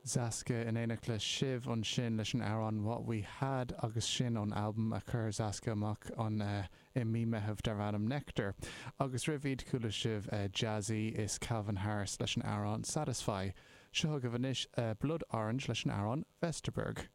Zaska in éineacht le Shiv ansin leis an amhrán What We Had agus sin ón albam a chuir Zaska amach an i mí Meitheamh darb ainm Nectar. Agus roimh iad chuala sibh Jazzy is Calvin Harris leis an amhrán Satisfy. Seo chugaibh anois Blood Orange leis an amhrán Vesterberg.